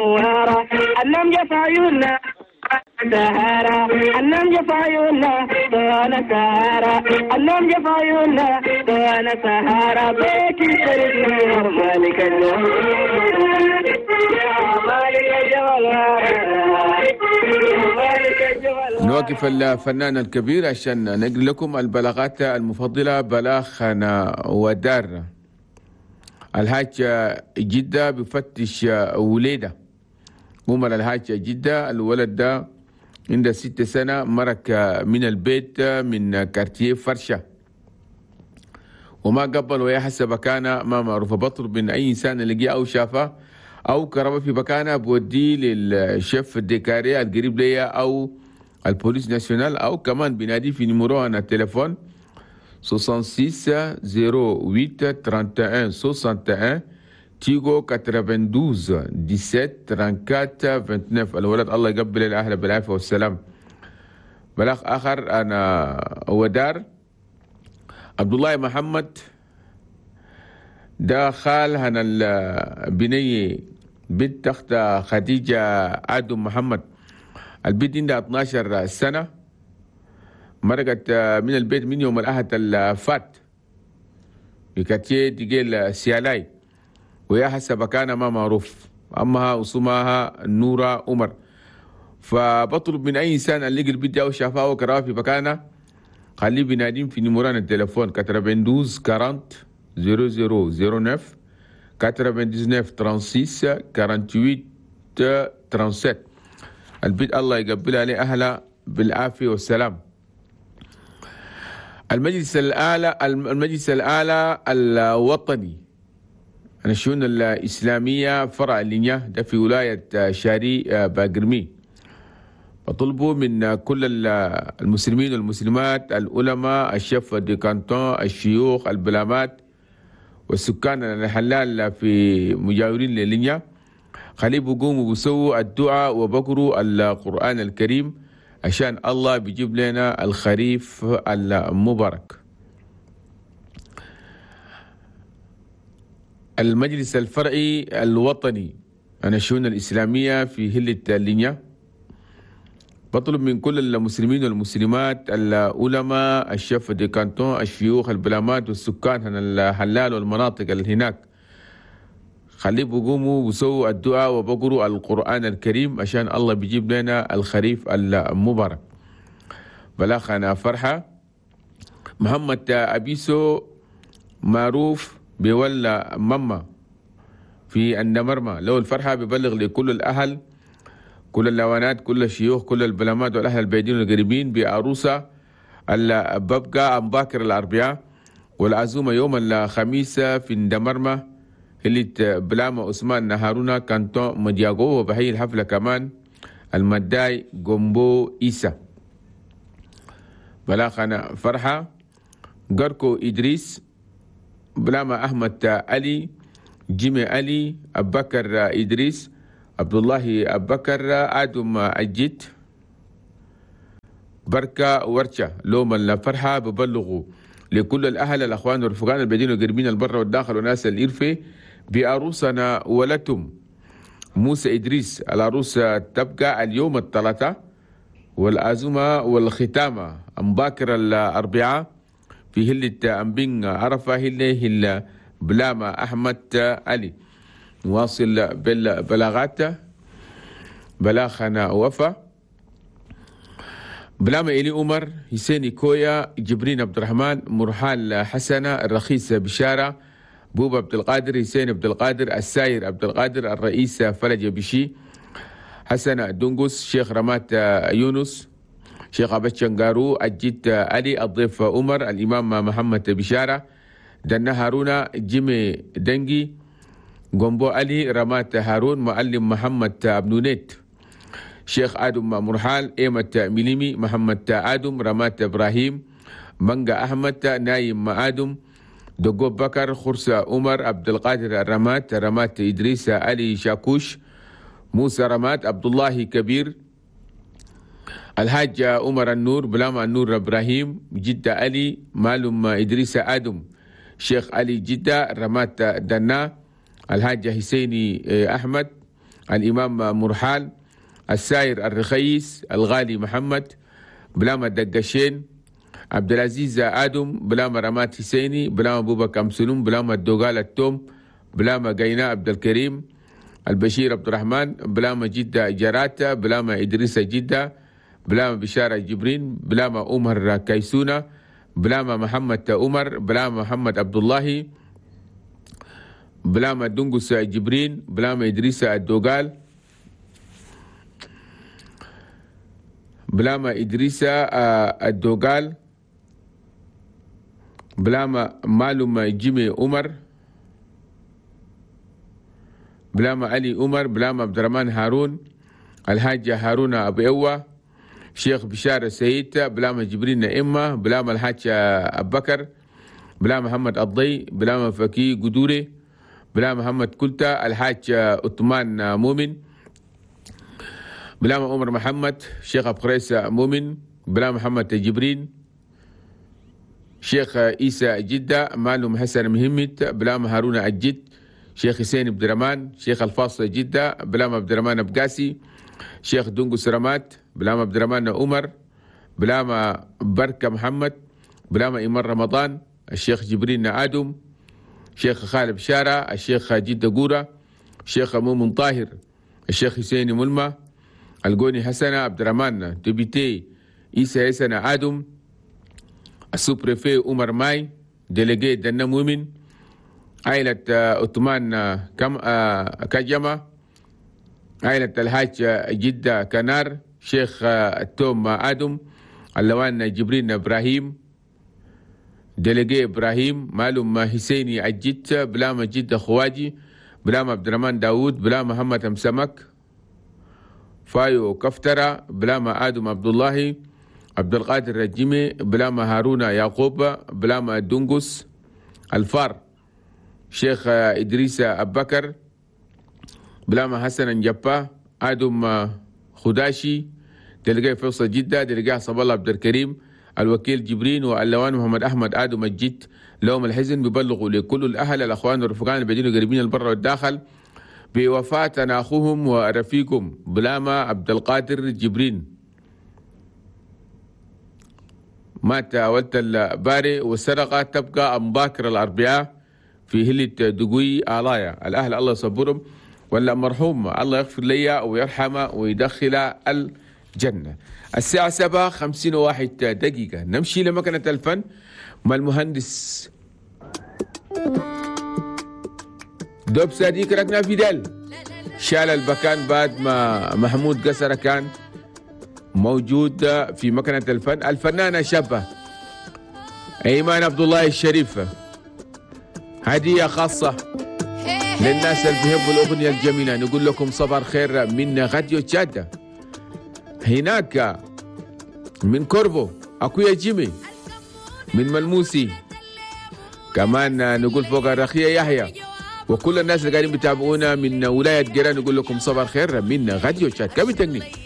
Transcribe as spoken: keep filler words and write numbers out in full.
نوارة النوم جفا عيوننا سهارة النوم جفا عيوننا وانا سهارة النوم جفا عيوننا وانا سهارة بيتي سرد نور مالك الجمال يا مالك الجمال مالك الجمال. نوقف الفنان الكبير عشان نقل لكم البلاغات المفضلة. بلاغنا ودار الحاج جدة بفتش وليدة عمر الحاج جدة، الولد ده عنده ست سنة، مرك من البيت من كارتيه فرشة وما قبل ويا حسب مكانه ما معروفة. بطلب من أي إنسان لقيه أو شافه أو كربه في مكانه بوديه لل chef de carré القريب ليا أو ال police nationale، أو كمان بنادي في numéro أنا التليفون ستة وستين صفر ثمانية واحد واحد واحد تيجو تسعة وثمانين سبعة أربعة تسعة وعشرين. الولد الله يقبل الأهل بالعافية والسلام. بلاغ آخر أنا ودار عبد الله محمد ده خال هنا البنية بنت أخت خديجة آدم محمد، البنت عندها اثناشر سنة، مرقت من البيت من يوم الأحد الفات بكاتيه تقيل سيالاي ويا حسب كان ما معروف، أمها وصمها نورة عمر. فبطلب من أي إنسان اللي لقى البنت أو شافها وكراها في مكانه خليه بيناديم في نمران التليفون أربعة اثنين أربعين صفر صفر صفر تسعة تسعة وتسعين ستة ثمانية وثلاثين سبعة. البيت الله يقبل عليه أهله بالعافية والسلام. المجلس الأعلى المجلس الأعلى الوطني الشؤون الإسلامية فرع اللينيا ده في ولاية شاري باقرمي، بطلبوا من كل المسلمين والمسلمات، العلماء، ال chefs de canton، الشيوخ، البلامات والسكان الحلال في مجاورين للينيا، خليه بقوموا بسووا الدعاء وبقروا القرآن الكريم عشان الله بيجيب لنا الخريف المبارك. المجلس الفرعي الوطني عن الشؤون الإسلامية في هلة اللينيا بطلب من كل المسلمين والمسلمات، العلماء، ال chefs de canton، الشيوخ، البلامات والسكان الحلال والمناطق اللي هناك، خليه بقوموا بسووا الدعاء وبقروا القرآن الكريم عشان الله بيجيب لنا الخريف المبارك. بلاغنا فرحة محمد أبيسو معروف بيولى ماما في النمرمى، لو الفرحة ببلغ لكل الأهل، كل اللوانات، كل الشيوخ، كل البلامات والأهل البعيدين والقريبين بعروسة ببقى أم باكر الأربعاء، والعزومة يوم الخميس في الدمرمة اللي بلامة عثمان هارونا كانتون مدياغو، وبحيي الحفلة كمان المداي جومبو إيسا. بلاغنا فرحة قركو إدريس بلامة أحمد علي جيمي علي أبكر إدريس عبد الله أبكر آدم أجيت بركة ورشة لوم الفرحة ببلغوا لكل الأهل الأخوان والرفقان البعيدين والقريبين البر والداخل وناس الإرفة بعروسنا ولتم موسى إدريس. العروسة تبقى اليوم الثلاثاء والعزومة والختامة مباكر الأربعاء في هلة أمبين عرفة هلة هلة بلامة أحمد علي. نواصل بالبلاغات. بلاغنا وفا بلامة إلي عمر حسين كويا جبرين عبد الرحمن مرحال حسنة الرخيص بشارة بوبا عبد القادر حسين عبد القادر الساير عبد القادر الرئيس فلج بشي حسن دونغوس شيخ رمات يونس شيخ أبو شنغارو الجد علي الضيف عمر الإمام محمد بشارة دنا هارونا جيمي دنجي جومبو علي رمات هارون معلم محمد أبنونيت شيخ آدم مرحال إيمة ميليمي محمد آدم رمات إبراهيم منجا أحمد نايم آدم دقو بكر خرسة عمر عبد القادر رمات رمات إدريس علي شاكوش موسى رمات عبد الله كبير الحاج عمر النور بلام النور إبراهيم جدة علي مالم إدريس آدم شيخ علي جدة رمات دنا الحاج حسيني أحمد الإمام مرحال، الساير الرخيس، الغالي محمد، بلاما الدقشين، عبد العزيز آدم، بلاما رمات حسيني، بلاما أبو بكر أمسلوم، بلاما الدوغال التوم، بلاما قينا عبد الكريم، البشير عبد الرحمن، بلاما جدة جراتا، بلاما إدريس جدة، بلاما بشارة جبرين، بلاما عمر كيسونة، بلاما محمد عمر، بلاما محمد عبد الله، بلاما دنقس جبرين، بلاما إدريس الدوغال، بلاما إدريس الدوغال، بلاما معلوم جيمي عمر، بلاما علي عمر، بلاما عبد الرحمن هارون، الحاج هارون أبو أوة، شيخ بشار السيد، بلاما جبرين إما، بلاما الحاج أبو بكر، بلاما محمد الضي، بلاما فكي قدوري، بلاما محمد كلتا، الحاج عثمان مؤمن، بلاما عمر محمد، شيخ أبو قريس مؤمن، بلاما محمد جبرين، شيخ عيسى جدة، معلم حسن مهمت، بلاما هارون الجد، شيخ حسين عبد الرحمن، شيخ الفاصل جدة، بلاما عبد الرحمن أبقاسي، شيخ دونجو سرامات، بلاما عبد الرحمن عمر، بلاما بركة محمد، بلاما إيمان رمضان، الشيخ جبرين آدم، شيخ خالد بشارة، الشيخ جدة قورة، شيخ مؤمن طاهر، الشيخ حسين ملمة، القوني حسنة عبد الرحمن député عيسى حسن آدم، ال sous-préfet عمر ماي، délégué دنا مؤمن، عائلة عثمان كم كجمة، عائلة الحاج جدة كنار، شيخ التوم آدم، اللوان جبرين إبراهيم، délégué إبراهيم، معلوم حسيني الجد، بلاما جدة خواجي، بلاما عبد الرحمن داوود، بلاما محمد أمسمك، فايو كفترة، بلاما آدم عبد الله، عبد القادر الجيمي، بلاما هارون يعقوب، بلاما دونغوس الفار، شيخ إدريس أبكر، بلاما حسن جبا، آدم خداشي، délégué فيصل جدة، délégué صب الله عبد الكريم، الوكيل جبرين، واللوان محمد أحمد آدم الجد. لهم الحزن بيبلغوا لكل الأهل الأخوان والرفقان البعيدين وقريبين البر والداخل بوفاة أخوهم ورفيقهم بلاما عبد القادر جبرين، مات ولد الباري، والسرقة تبقى أم باكر الأربعاء في هلة دقوي آلايا. الأهل الله يصبرهم، ولا مرحوم الله يغفر لي ويرحمه ويدخل الجنة. الساعة سبعة خمسين وواحد دقيقة، نمشي لمكنة الفن مع المهندس دوب صديق ركنا فيدال. شال البكان بعد ما محمود قسرة كان موجود في مكنة الفن. الفنانة شابة ايمان عبد الله الشريف، هدية خاصة للناس اللي بيحبوا الأغنية الجميلة. نقول لكم صباح الخير من راديو تشاد، هناك من كورفو أكويا جيمي، من ملموسي كمان نقول فوق الرخية يحيى، وكل الناس اللي قاعدين بيتابعونا من ولاية جيران نقول لكم صباح الخير من راديو تشاد. كم تكنيك.